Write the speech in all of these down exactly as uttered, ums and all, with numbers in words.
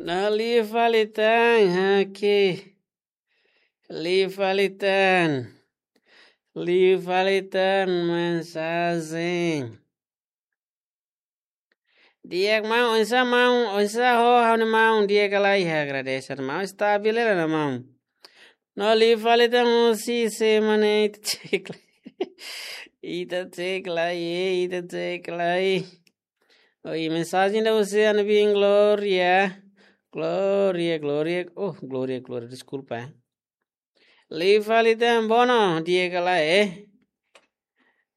No liu fali tan, oke. Liu fali tan. Liu fali tan mensajen. Di'ak maun, oinsá maun, oinsá ho ha'u-nia maun, di'ak ka lae? Agradese maun, stabil hela ona maun. No liu fali tan husi semana ita cek lai. Ita cek lai, eh, ita cek lai. Oi, mensajen ida husi ami-nia biin Gloria. Gloria, Gloria. Oh, Gloria, Gloria, deskulpa, eh. Liu fali tan, bono, di'ak ka lae, eh?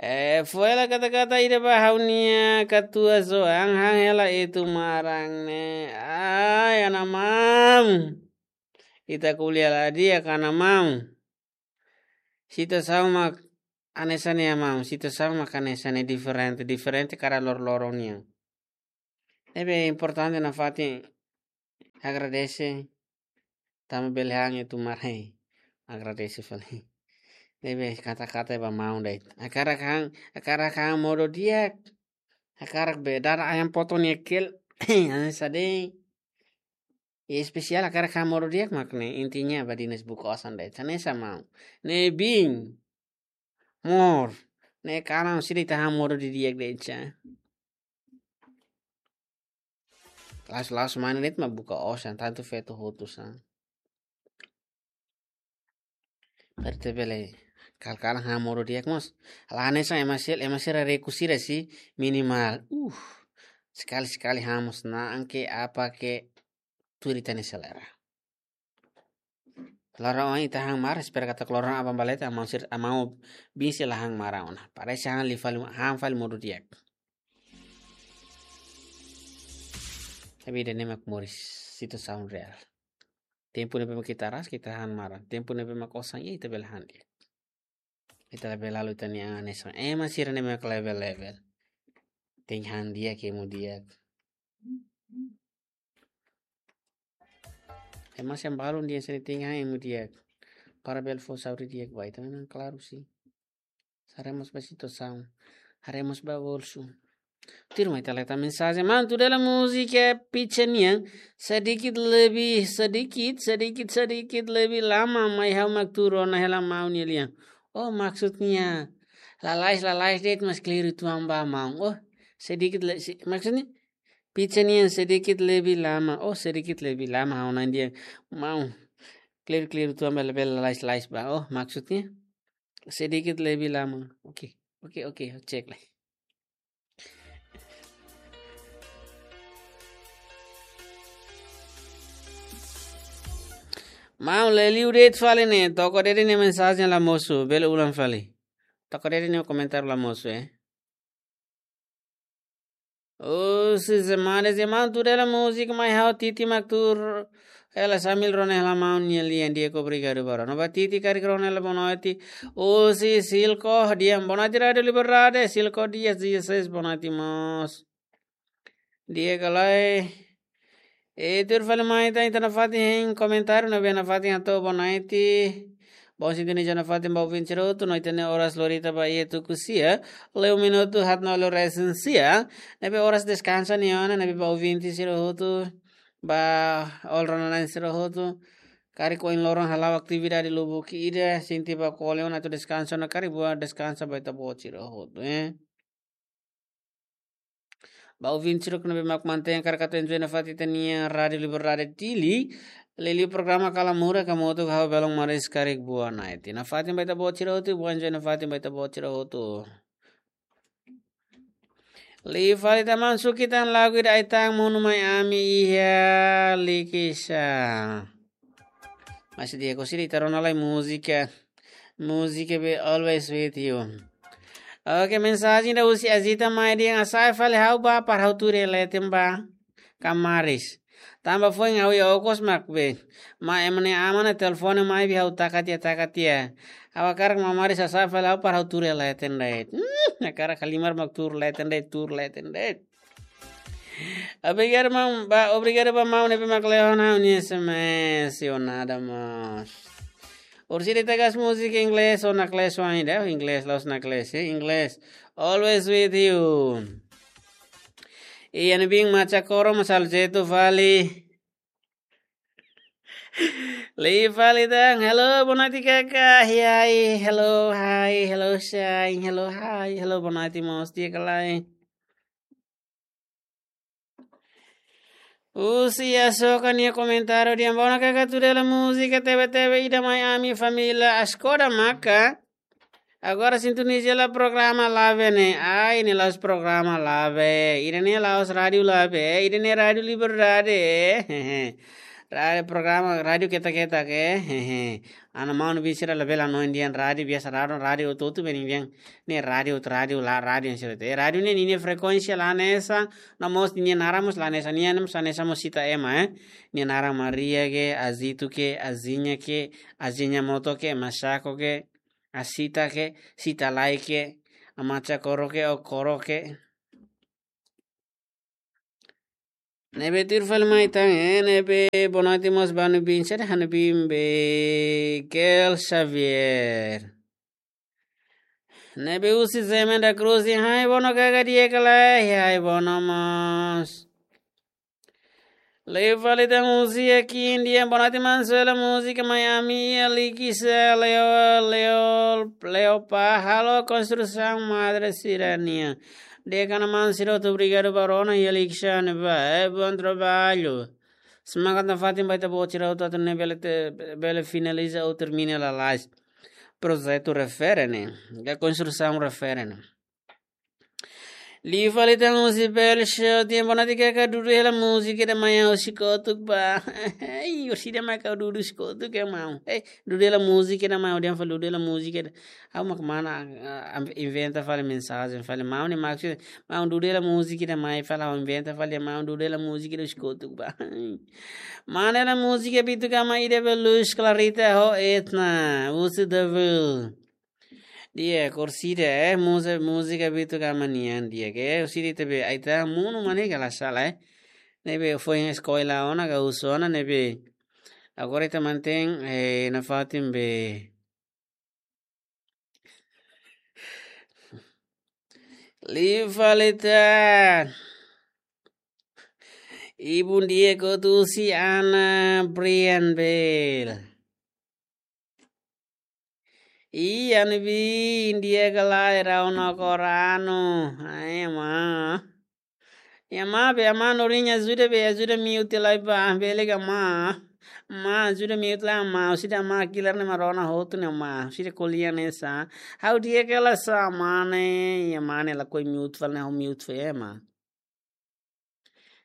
Eh, fó hela kata-kata ida ba ha'u-nia katuas oan, han hela Etu Maran ne'e. Ai, ana maun. Ita ko'alia la di'ak, ana maun. Situasaun mak hanesan ne'e, maun. Situasaun mak hanesan ne'e, diferente, diferente kada loroloron nian. Ne'ebé importante nafatin agradese, tanba bele han Etu Maran. Agradese fali. Ne'ebé kata-kata ba maun de'it. Hakarak han, hakarak han modo di'ak. Hakarak be dada ayam potong nia keel. Hanesan de'it. I espesiál hakarak han modo di'ak mak ne'e, intinya ba Dinas buka osan de'it. Hanesan maun. Ne'e biin. Mós. Ne'e kalan sira ita han modo didi'ak de'it sa. La'ós, la'ós maun de'it mak buka osan, tantu feto hotu sa. Berarti bele kal-kalan han modo di'ak mós. Halo hanesan ema sira, ema sira rekusira sih minimal. Uh, sekali-sekali han mós na'an ke apa ke tuir ita-nia selera. Loron oin ita han maran, espera katak loron aban ba leten, maun sira, maun biin sira la han maran ona. Parese han liu fali, han fali modo di'ak. Tapi ida-ne'e mak moris, situasaun reál. Tempu ne'ebé mak ita ras, ita han maran. Tempu ne'ebé mak osan iha, ita bele han di'ak. Ita labele halo ita-nia an hanesan ema sira ne'ebé mak level-level. Tenke han di'ak, hemu di'ak. Ema sira balun dehan sira tenke han, hemu di'ak. Para bele fó saúde di'ak ba ita, memang klaru sih. Haree mós ba situasaun. Haree mós ba bolsu. Tuirmai ita leta mensajen. Maun, tuir hela múzika Pitsa nian, sedikit lebih, sedikit, sedikit, sedikit lebih lama mai ha'u mak tuur ona hela maun nia lian. Oh, maksudnya lalais, lalais de'it, mas keliru tuan ba maun. Oh, sedikit le-, si-, maksudnya Pitsa nian sedikit lebih lama. Oh, sedikit lebih lama, ha'u-nia an dehan maun. Keliru, keliru tuan ba, bele lalais, lalais ba. Oh, maksudnya sedikit lebih lama. Oke, oke, oke, cek lai. Maun, la liu de'it fali ne'e, Toko Dede nia mensajen la mosu, bele ulang fali. Toko Dede nia komentar la mosu, eh. Oh, si Zemade, Zemade tuur hela múzika mai ha'u, Titi mak tuur hela sambil rona hela maun nia lian, di'ak, obrigadu barak. No ba Titi karik rona hela boa noite. Oh, si Silko, dehan boa noite Rádiu Liberdade, Silko Dias dezasseis, boa noite mós. Di'ak ka lae? E tuir fali mai ita, ita nafatin hein komentáriu, ne'ebé nafatin hato'o boa noite. Bom sintonia nafatin ba ouvinte sira hotu, no ita-nia oras lorita ba iha tuku sia, liu minutu haatnulu resin sia, ne'ebé oras deskansa nian ona, ne'ebé ba ouvinte sira hotu, ba all Rona na'in sira hotu, karik ohin loron hala'o atividade lubuk ida, sente ba kole ona atu deskansa ona, karik buat deskansa ba ita-boot sira hotu, eh. Ba ouvinte sira ne'ebé mak mantein hakarak atu enjoy nafatin ita-nia Rádiu Liberdade Dili, liuliu programa Kala Mura, hamutuk ho ha'u, Belon Maris, karik buat na'in. Nafatin ba ita-boot sira hotu, buat enjoy nafatin ba ita-boot sira hotu. Liu fali tan maun, suki tan lagu ida Ai-tan Monu Mai Ami iha Likisá. Mas di'ak, orsida ita rona lai múzika. Múzika be Always With You. Oke, mensajen ida husi Azita mai dehan hasa'e fali ha'u ba para ha'u tuur iha leten ba kamaris. Tanba foin ha'u iha okos mak be, mai ema nia aman nia telefone mai be ha'u taka tiha, taka tiha. Ha'u hakarak kamaris, hasa'e fali ha'u para ha'u tuur iha leten de'it. Hmm, hakarak halimar mak tuur leten de'it, tuur leten de'it. Obrigadu maun, ba, obrigadu ba maun ne'ebé mak lehon ha'u-nia S M S, yo nada mas. Orsida ita gas múzika inglés, ou naklees ainda, inglés, la'ós naklees, eh, inglés. Always With You. I ami-nia biin Macha Koro, Masal Jetu fali. Liu fali tan, hello, boa noite, kaka. Hi, hi, hello, hi, hello, shine, hello, hi, hello, boa noite, mós, di'ak ka lae? Husi Asoka nia komentáriu dehan: Bona kaka, tuir hela múzika tebe-tebe ida mai ami família Askoda maka. Agora sintoniza hela programa Lave ne'e. Ai, ne'e la'ós programa Lave. Ida-ne'e la'ós rádiu Lave. Ida-ne'e Rádiu Liberdade. Rádiu programa, rádiu keta-keta ke. Ana maun-bin sira labele hanoin dehan rádiu biasa, rádiu, rádiu hotu-hotu beni dehan. Ne'e rádiu, rádiu la, rádiu sira te. Rádiu ne'e ninia frekuénsia la hanesan, no mós ninia naran mós la hanesan, nia mós hanesan mós Sita ema, eh. Nia naran Maria ke, Azito ke, Azinha ke, Azinha Moto ke, Masako ke, Asita ke, Sita Lai ke, Amacha Koro ke, Okoro ke. Ne'ebé tuir fali mai tan, eh, ne'ebé boa noite mós ba ha'u-nia bin, sira ha'u-nia bin be Gel Xavier. Ne'ebé husi Zé Mendes da Cruz dehan: Hi, bono kaka, di'ak ka lae? Hi, bono mós. Liu fali tan husi Akin dehan: Boa noite, maun, soe hela múzika mai ami, Alikisa, Leo, Leo, Leo pa halo konstrusaun madre sira-nian. Di'ak ka lae, maun, sira hotu, obrigadu ba rona, Alikisa, ne'ebá, eh, bom trabalho. Semangat nafatin ba ita-boot sira hotu atu nune'e bele te, bele finaliza ou termina lalais projetu refere ne'e, ka konstrusaun refere ne'e. Liu fali tan husi Bel Show dehan: Boa noite kaka, dudu hela múzika ida mai ha'u husi kotuk ba. Ei, orsida mai ka dudu husi kotuk ke, maun? Ei, dudu hela múzika ida mai, ha'u dehan fali dudu hela múzika ida. Ha'u mak mana, ah, am-, inventa fali mensajen fali maun ne'e maksud, maun, dudu hela múzika ida mai fali, ha'u inventa fali, maun, dudu hela múzika ida husi kotuk ba. Mana hela múzika Bitu Gama ida be Luz Clarita ho Etna, husi Devil. Di'ak, orsida, eh, múzika, múzika Bitu Gama nian di'ak, eh, orsida ita be, ita monu mane kala sala, eh. Ne'ebé foin eskola ona ka husu ona, ne'ebé agora ita mantein, eh, nafatin be. Liu fali tan. Ibun di'ak hotu husi Ana Brian Bel. Ih, ha'u-nia bin, di'ak ka lae, rona koranu. Ai, maun. Ya, maun, be, maun, norin ajuda be, ajuda mute lai ba, bele ka, maun? Maun, ajuda mute lai, maun, orsida maun kilar ne'e mak rona hotu ne'e, maun, orsida ko'alia hanesan. Ha'u di'ak ka lae, sá, maun ne'e, ya, maun ne'e lakohi mute fali ne'e, ha'u mute fali, eh, maun.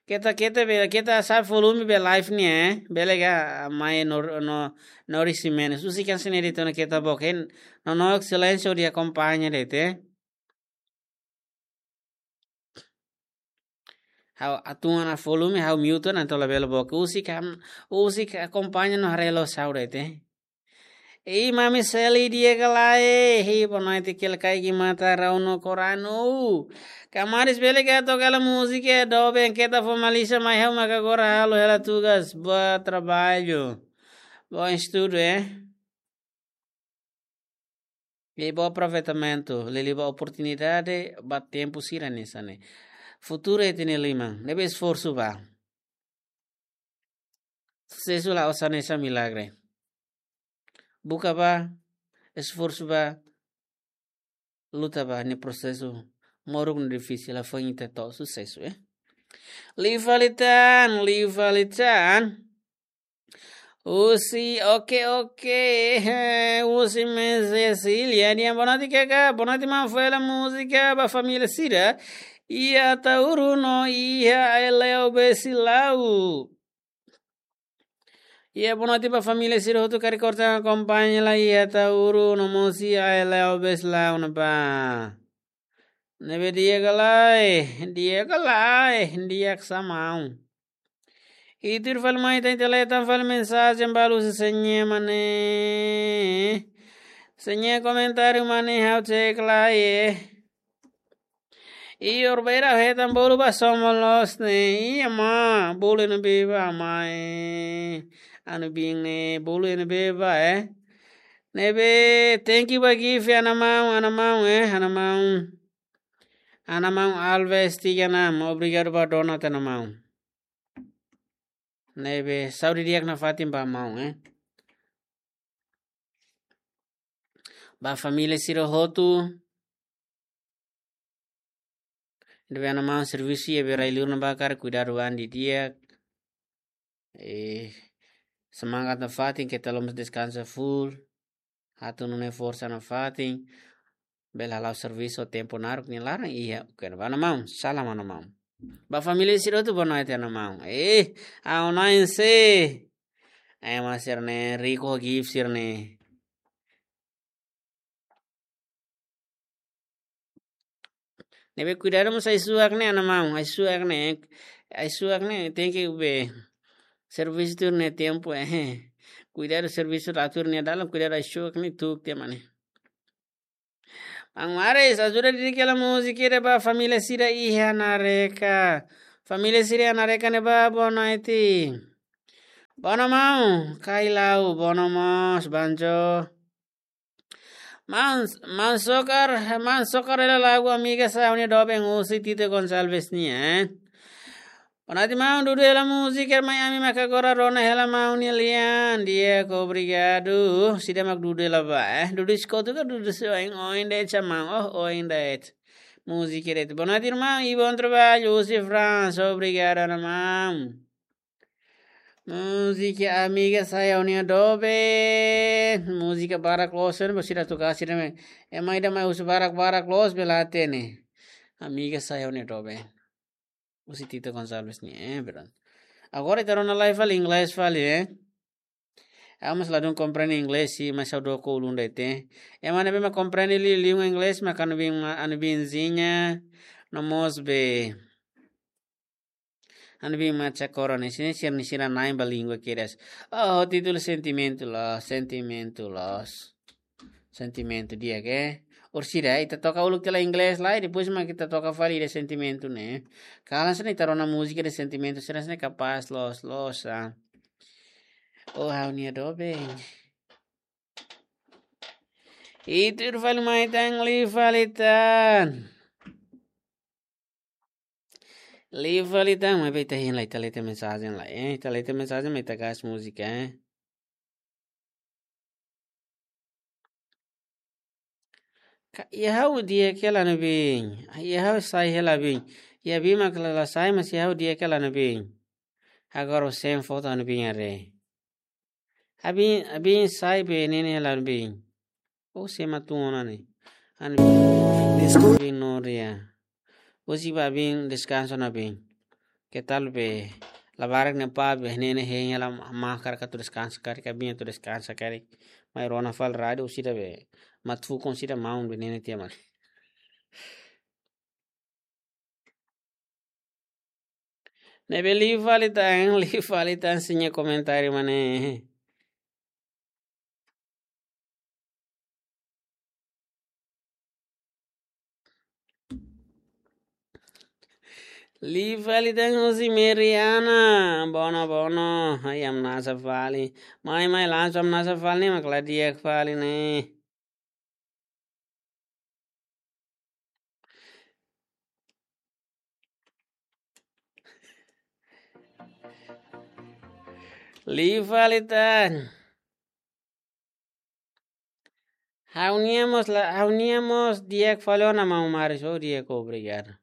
Keta, keta be, keta sa'e volume be live ne'e, eh? Bele ka mai no, no, no risi menos. Husi kan sini di tona keta boken, no, no, silénsiu de akompaña de'it, eh? Ha'u atu ona volume, ha'u mute ona, entaun labele boken. Husi kan, husi ka akompaña no haree loos ha'u de'it, eh? Ei, Mami Seli, di'ak ka lae? Hei, boa noite, kela kaiki mata, rona koranu. Kamaris, bele ka toka hela múzika, doben, keta formaliza mai, ha'u maka agora halo hela tugas, bom trabalho. Bom estudo, eh? E bom aproveitamento, liuliu ba oportunidade, ba tempu sira-ne'e hanesan ne'e. Futuru ita-nia liman, ne'ebé esforsu ba. Susesu la'ós hanesan milagre. Buka ba, esforsu ba, luta ba, ne'e prosesu moruk no difisil, la foin ita to'o susesu, eh. Liu fali tan, liu fali tan. Husi, oke, oke, husi Mãe Cecília dehan: Boa noite kaka, boa noite, maun, fó hela múzika ba família sira. Iha Ataúru no iha Aileu Besilau. Iha, boa noite ba família sira hotu karik kortan akompaña lai iha Ataúru no mós iha Aileu Besilau ne'ebá. Ne'ebé di'ak ka lae, di'ak ka lae, di'ak sá, maun. I tuir fali mai tan, ita lee tan fali mensajen balu husi Señé Mane. Señé komentáriu Mane, ha'u cek lai, eh. I orbera hetan bolu ba somo loos ne'e. Iha maun, bolu ne'ebé ba maun, eh. Ha'u-nia bin ne'e, bolu ne'ebé ba, eh. Ne'ebé, thank you ba gift, ana maun, ana maun, eh, ana maun. Ana maun Alves tiga enam, obrigadu ba donate, ana maun. Ne'ebé saúde di'ak nafatin ba maun, eh. Ba família sira hotu. Ne'ebé ana maun servisu iha be rai-liur ne'ebá karik kuidadu an didi'ak. Eh, semangat nafatin, keta loos deskansa full. Atu nune'e forsa nafatin. Bele hala'o servisu tempu naruk nia laran iha. Oke, ba ana maun, salam ana maun. Ba família sira hotu boa noite ana maun. Eh, ha'u-nia oan sira. Ema sira-ne'e, Rico gift sira-ne'e. Ne'ebé kuidadu mós ai-suak ne'e ana maun, ai-suak ne'e, ai-suak ne'e tenke be servisu tuir nia tempu, eh. Kuidadu servisu la tuir nia dalan, kuidadu ai-suak ne'e tuuk tiha mane. Maun Maris, ajuda didi'ak hela múzika ida ba família sira iha Nareka. Família sira iha Nareka ne'ebá, boa noite. Boa noite maun, Kailau, boa noite mós, Banjo. Maun, maun Sokar, maun Sokar hela lagu Amiga Sai Ha'u-nia Doben husi Tito Gonçalves nian, eh. Boa noite maun, dudu hela múzika mai ami mak agora rona hela maun nia lian. Di'ak, obrigadu. Sira mak dudu hela ba, eh. Dudu eskotu ka dudu se oin, oin de'it maun. Oh, oin de'it. Múzika de'it. Boa noite irmão, e bom trabalho. Husi França, obrigadu ana maun. Múzika Amiga Sai Ha'u-nia Doben. Múzika barak loos, eh, ba sira toka sira mai. Ema ida mai husi barak-barak loos bele hatene. Amiga Sai Ha'u-nia Doben. Husi Tito Gonçalves nian, eh, verdade. Agora ita rona live fali inglés fali, eh. Ha'u mós ladún komprende inglés, si, mas ha'u dook ulun de'it. Ema ne'ebé mak komprende liu, liu inglés, mak anu bin, anu bin Zinha, no mós be. Anu bin Macha Corona, sini sira-nia sira-nia língua kedas. Oh, títulu sentimentu loos, sentimentu loos. Sentimentu di'ak, eh. Orsida, ita toka uluk tiha lai inglés lai, depois mak ita toka fali ida sentimentu ne'e. Kalan sini ita rona múzika ida sentimentu, sira-ne'e kapás loos, loos, ah. Oh, ha'u-nia doben. Ita fali mai tan, liu fali tan. Liu fali tan, maibé ita hein lai, ita lee tiha mensajen lai, eh. Ita lee tiha mensajen, maibé ita gas múzika, eh. Ka, iha ha'u di'ak hela ne'ebé. Iha ha'u sai hela bin. Iha bin mak la, la sai, mas iha ha'u di'ak hela ne'ebé. Agora o sem foto ne'ebé haree. Abin, abin sai be ne'e ne'e hela bin. O sema tun ona ne'e. An bin. Desculpa. Bin no dia. Husi ba bin deskansa ona bin. Ke tal be labarik ne'e pá be ne'e ne'e hein hela, mak karik atu deskansa karik, abin atu deskansa karik. Mai rona fali rádiu sira be. Mak fukon sira maun be ne'e ne'e tiha mane. Ne'ebé liu fali tan, liu fali tan sira-nia komentáriu mane. Liu fali tan husi Meriana, bono, bono, ai hamnasa fali. Mai, mai, langsung hamnasa fali ne'e, mak la di'ak fali ne'e. Liu fali tan. Ha'u-nia mós la, ha'u-nia mós di'ak fali ona maun Maris, oh di'ak, obrigadu.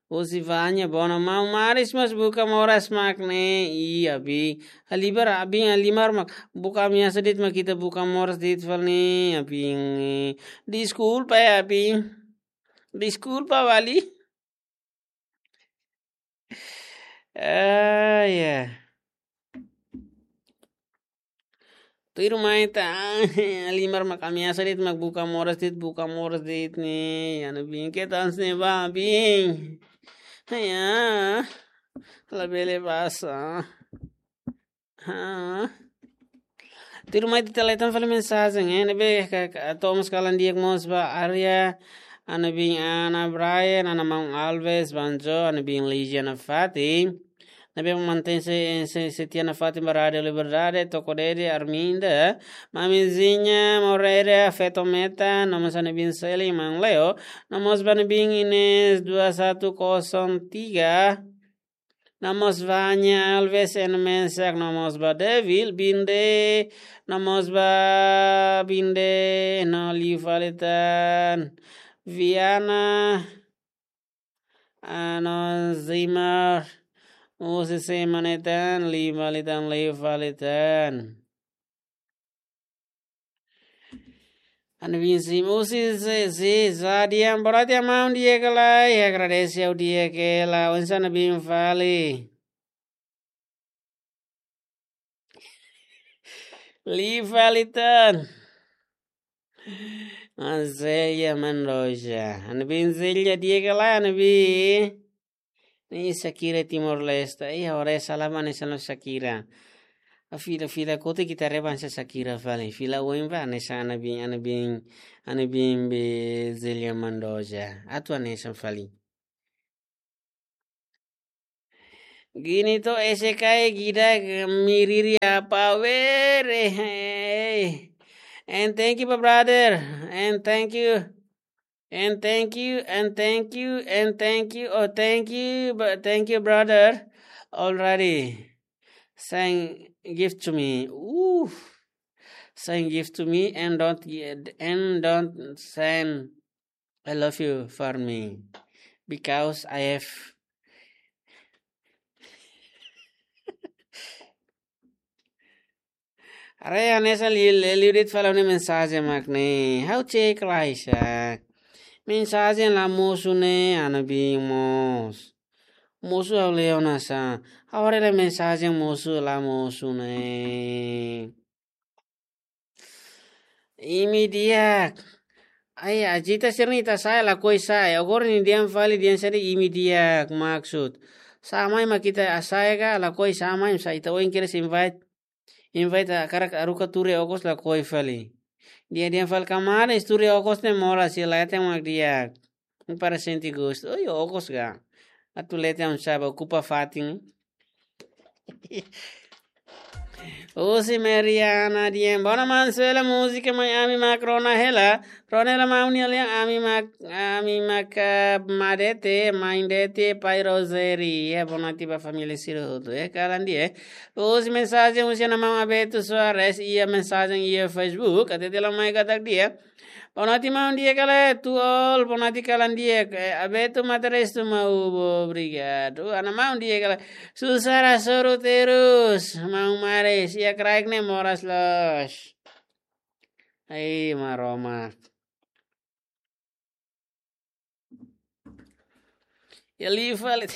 Husi Vanya, bono maun Maris mós buka moras mak ne'e, ih abin. Halimar abin, halimar mak buka ameasa de'it mak ita buka moras de'it fali ne'e, abin. Deskulpa, eh, abin. Deskulpa, vale. Ah, ya. Tuirmai tan, halimar mak ameasa de'it mak buka moras de'it, buka moras de'it ne'e, ya, no bin ke tan sne ba bin. Ya, labele pasa. Ha. Tuirmai ita lee tan fali mensajen, eh, ne'ebé ka, ka, to'o mós kalan di'ak mós ba Arya, ana bin Ana Brian, ana maun Alves, Banjo, ana bin Ligia nafatin. Ne'ebé mantein se, se, setia nafatin ba Rádiu Liberdade, Toko Dede, Arminda, Mamizinha, Moreira, Feto Meta, no mós ana bin Seli, maun Leo, no mós ba ana bin Ines dua satu kosong tiga. No mós ba Nia Alves, N Mensak, no mós ba Devil Binde, no mós ba Binde, no liu fali tan Viana, ah, no Zimar, husi semana ida tan, liu fali tan, liu fali tan. Ana bin sim, husi se, se, sa diam, boa noite, maun di'ak ka lae, agradese ha'u di'ak hela, oinsá ana bin fali. Liu fali tan. Anzelia Mendoza. Ana bin Zelia di'ak ka lae, ana bin. Ne'e Shakira Timor-Leste. Ih, ora salah ba ne'e sala Shakira. A fila, fila kote kita reban sa Shakira fali. Fila oin ba ne'e sa ana bin, ana bin, ana bin be Zelia Mendoza. Atu ne'e sa fali. Gini to ese kai gida miriri apa were. Hey. And thank you, my brother. And thank you. And thank you, and thank you, and thank you. Oh, thank you, but thank you, brother. Already. Send gift to me. Ooh. Send gift to me and don't gi-, and don't send I love you for me. Because I have Are hanesan li-, li-, liuridade fala ne'e mensajen mak ne'e. Ha'u cek lai sa. Mensajen la mosu ne'e ana bin mós. Mosu ha'u leo na sa. Ha'u haree lai mensajen mosu la mosu ne'e. Imi di'ak. Ai, ajita sira-ne'e ita sa'e lakohi sa'e. Agora nia dehan fali dehan sira imi di'ak maksud. Sá mai mak ita hasa'e ka lakohi sá mai sa ita oin kedas invite. Invite hakarak haruka tuur iha okos lakohi fali. Dehan dehan fali kamaran tuur iha okos ne'e moras, sira la hatene mak di'ak. Para sente gostu. Oi, okos ka. Atu leten sá ba okupa fatin. Husi Mariana dehan. Bona maun, sela múzika mai ami mak rona hela. Rona hela maun nia lian ami mak, ami mak, ah, madete, main dete, pai Roseri. Ya, bona tiba família sira hotu. Eh, kalan di'ak. Husi mensajen husi ana maun Abeto Soares, iha mensajen iha Facebook. Até tela mai katak di'ak. Boa noite, maun di'ak ka lae, to all, boa noite kalan di'ak, eh, Abeto Matarestu mau, obrigadu. Ana maun di'ak ka lae, susar hasoru terus, maun Mares, iha kraik ne'e moras loos. Ai, Maromak. Ya liu fali.